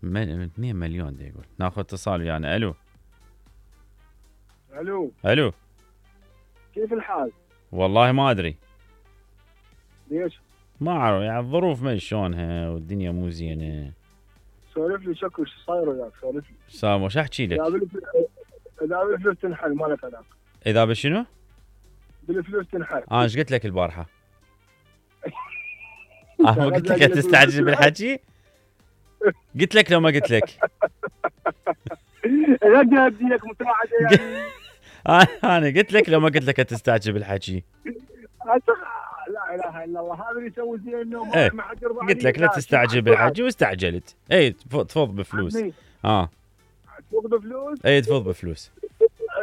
2 مليون دا يقول. ناخذ اتصال ويانا. الو الو الو. كيف الحال؟ والله ما ادري. ليش؟ ما اعرف يعني الظروف ما شلونها والدنيا مو زينه. سولف لي شكو شو صاير وياك؟ سولف لي. سامو وش احكي لك؟ اذا بالفلوس تنحل ما لك علاقه. اذا بشنو؟ بالفلوس تنحل. ايش قلت لك البارحه؟ ما قلت لك تستعجل بالحكي؟ قلت لك لو ما قلت لك؟ لا ادي لك مساعده يعني. انا قلت لك لو ما قلت لك تستعجل بالحكي؟ لا اله الا الله، هذا اللي يسوي زين النوم. ايه. ما حد يرضى. قلت لك لا تستعجل بالحكي واستعجلت. اي تفوض بفلوس. تفوض بفلوس؟ اي تفوض بفلوس.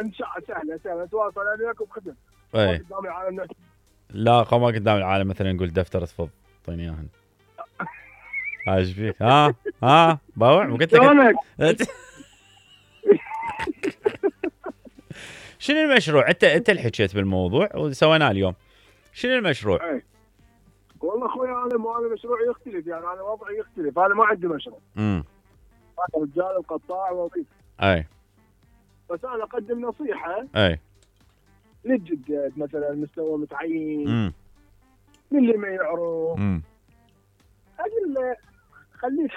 ان شاء الله سهله تواصل انا وياك وبخدم. اي قدام العالم. لا ما قدام العالم مثلا نقول دفتر تفوض اعطيني اياهن. ايش فيك؟ باوع قلت لك. شنو المشروع؟ انت اللي حكيت بالموضوع وسويناه اليوم. شنو المشروع؟ اي والله اخوي انا مشروعي يختلف، يعني انا وضعي يختلف. انا ما عندي مشروع. انا رجال القطاع وظيفه. اي بس انا اقدم نصيحه. اي للجدد مثلا مستوى متعين. للي ما يعرف. اقول له خليك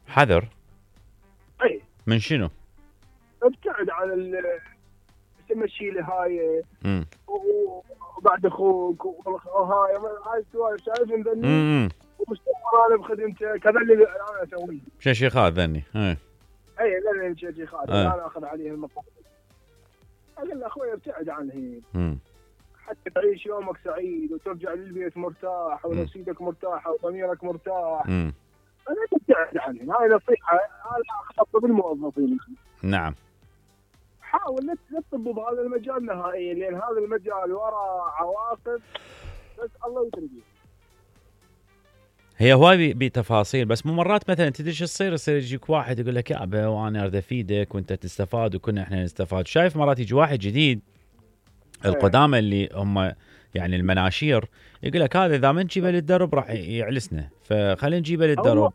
حذر. اي من شنو؟ ابتعد عن تمشي لي هاي وبعد اخوك وهاي السوالف شايف ذني. ومستمر انا بخدمته كذا اللي انا اسويه. شيخات ذني. اي ذني شيخات انا اخذ عليه المقام. اقول له اخوي ابتعد عنه حتى تعيش يومك سعيد وترجع للبيت مرتاح ونفسيتك مرتاحه وضميرك مرتاح. انا ابتعد عنه. هاي نصيحه انا اخطب بالموظفين. نعم. حاول لا تطب بهذا المجال نهائيا، لان هذا المجال وراه عواقب بس الله يدري. هي هواي بتفاصيل، بس مو مرات مثلا تدري شو يصير يجيك واحد يقول لك يا ابا وانا اريد افيدك وانت تستفاد وكنا احنا نستفاد. شايف مرات يجي واحد جديد القدامى اللي هم يعني المناشير يقول لك هذا اذا ما نجيبه للدرب راح يعلسنا، فخلينا نجيبه للدرب.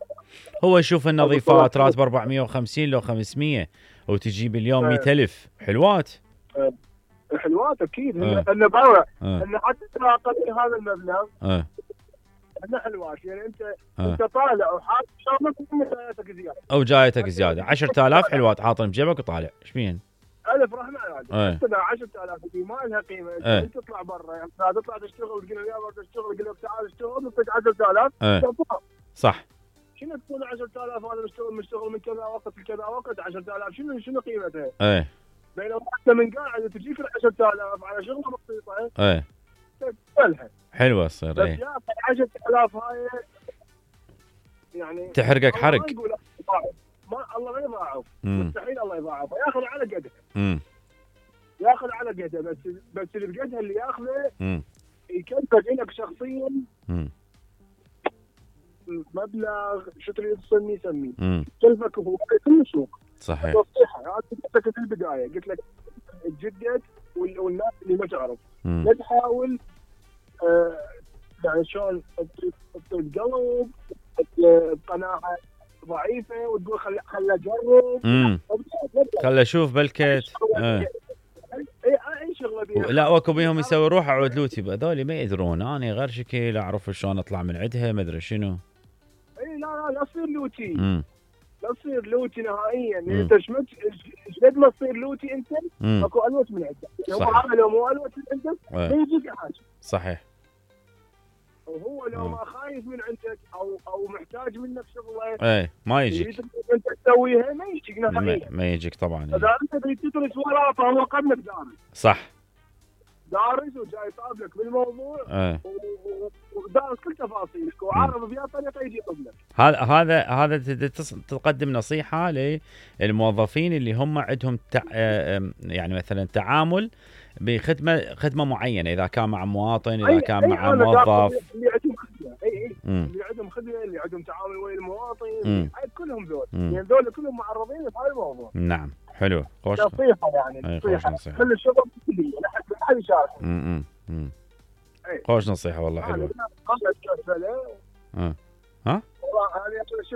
هو يشوف النظيفات راتب 450 لو 500 وتجيب اليوم 100,000. حلوات اكيد. انه باوع انه حتى اقل هذا المبلغ انه حلوات. يعني انت طالع وحاط شغلك جايتك زياده او جايتك زياده 10,000 حلوات حاطن بجيبك وطالع. ايش بين؟ الف رحمه يعني. حتى 10,000 دي ما لها قيمه. انت تطلع برا يعني تطلع تشتغل تقول يلا تشتغل تقول لك تعال اشتغل نعطيك 10,000. صح. شنو تكون 10,000 هذا مشتغل من كذا وقت لكذا وقت 10,000 شنو قيمتها؟ بينما انت من قاعد تجيك 10,000 على شغله بسيطه. تقبلها. حلوه تصير. بس يا 10,000 هاي يعني تحرقك حرق. الله ما يضاعف. مستحيل الله يضاعف. ياخذ على قده. ياخذ على قده بس اللي بقدها اللي ياخذه يكلفك لك شخصيا مبلغ شو تريد تسميه كلفك هو كل السوق. صحيح. نصيحه انا قلت لك في البدايه قلت لك تجدد والناس اللي ما تعرف لا تحاول يعني شلون تقلب بقناعه ضعيفه وتقول خل اجرب. خل اشوف بلكت. اي شغله بيها. لا واكو بيهم يسوي روح اعود لوتي هذول ما يدرون. انا غير شكل اعرف شلون اطلع من عندها ما ادري شنو. اي لا تصير لوتي. لا تصير لوتي نهائيا. انت قد ما تصير لوتي انت اكو الوت من عندك. هو هذا لو مو الوت من عندك ما يجيك حاجه. صحيح. وهو لو ما خايف من عندك او محتاج منك شغله ما يجيك. انت تسويها ما يجيك نهائيا. ما يجيك طبعا. اذا انت تريد تدرس وراه فهو قبلك دارس. صح. دارس وجاي يطابلك بالموضوع. ودارس كل تفاصيلك وعارف بيها طريقه يجي قبلك. هذا تقدم نصيحه للموظفين اللي هم عندهم يعني مثلا تعامل بخدمه معينه، اذا كان مع مواطن اذا كان مع موظف. اللي عندهم خدمه اللي عندهم خدمه اللي عندهم تعامل ويا المواطن كلهم ذول. يعني ذول كلهم معرضين لهذا الموضوع. نعم. حلو. خوش نصيحه يعني. نصيحه كل الشغل كلي لا حد يشارك. خوش نصيحه والله. حلوه. ها والله